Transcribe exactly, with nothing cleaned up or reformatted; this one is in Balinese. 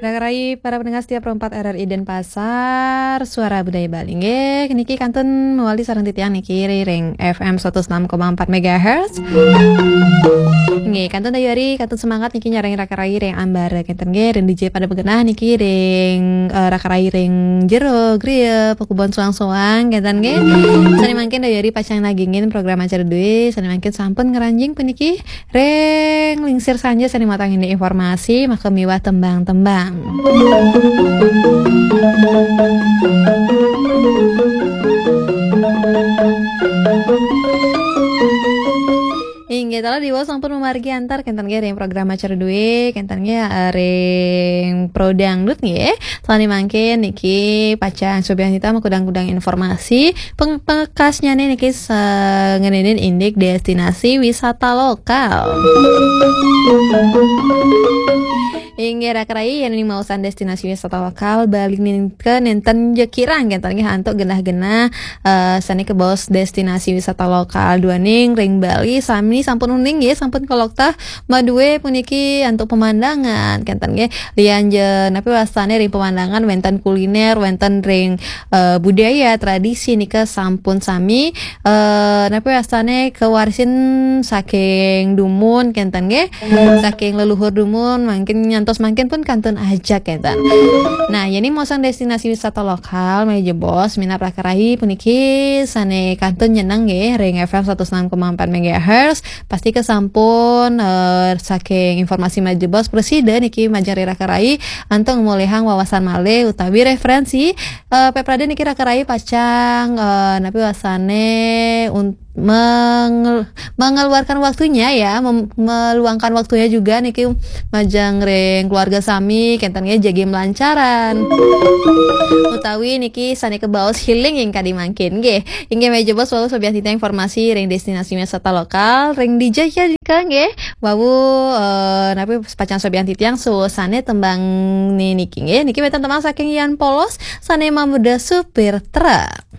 Rakarai para pendengar setia Pro empat R R I Denpasar, Suara Budaya Bali. Nggih, niki kantun mewali sareng titiang niki ring F M seratus enam koma empat megahertz. Nggih, kantun dayari, kantun semangat niki nyarengin rakarai ring ambara kenten nggih, ring D J pada begenah niki ring, eh, rakarai ring jero griya, pakubon soang-soang kenten nggih. Sane mangkin dayari pacang nagingin program acara duwe, sane mangkin sampun ngranjing puniki ring lingsir sanja sane matangin informasi maka miwah tembang-tembang. Inggih, tala Dewa sampun mamargi antar kenten nggih ring program acara duwe, kenten nggih, eh, ring Pro Dangdut nggih. Sane mangkin niki pacang sobian kita makudang-kudang informasi peng-, pekasnyane niki sa-, ngenenin indik destinasi wisata lokal. Inggih rakarai, yen ning maosan destinasi wisata lokal Bali nika nenten ja kirang kenten nggih antuk genah-genah, eh, sane kabaos destinasi wisata lokal duaning ring Bali sami sampun uning nggih, sampun kaloktah madue puniki antuk pemandangan kenten nggih. Lian ja napi wastane ring pemandangan wenten kuliner, wenten ring, eh, budaya, tradisi nika sampun sami, eh, napi wastane kawarisin saking dumun kenten nggih. Saking leluhur dumun mangkin nyantos mangkin pun kantun ajak kenten. Nah, yen ning maosan destinasi wisata lokal malih jebos minab rakarai puniki sane kantun nyeneng nggih ring F M seratus enam koma empat megahertz, pasti kesampun, eh, saking informasi malih jebos prasida niki majeng ring rakarai antuk ngolihang wawasan malih utawi referensi, eh, peprade niki rakarai pacang, eh, napi wastane un-, mengel-, mengeluarkan waktunya ya, mem-, meluangkan waktunya juga niki majeng ring keluarga sami kenten nggih jagi melancaran. Utawi niki sane kabaos healing ing kadi mangkin nggih. Inggih malih jebos wau sobian titiang informasi ring destinasi wisata lokal ring D J Yadika nggih. Wau, eh, napi pacang sobian titiang suwun sane tembang ni-, niki nggih. Niki wenten tembang saking Yan Polos sane mamurda supir truk.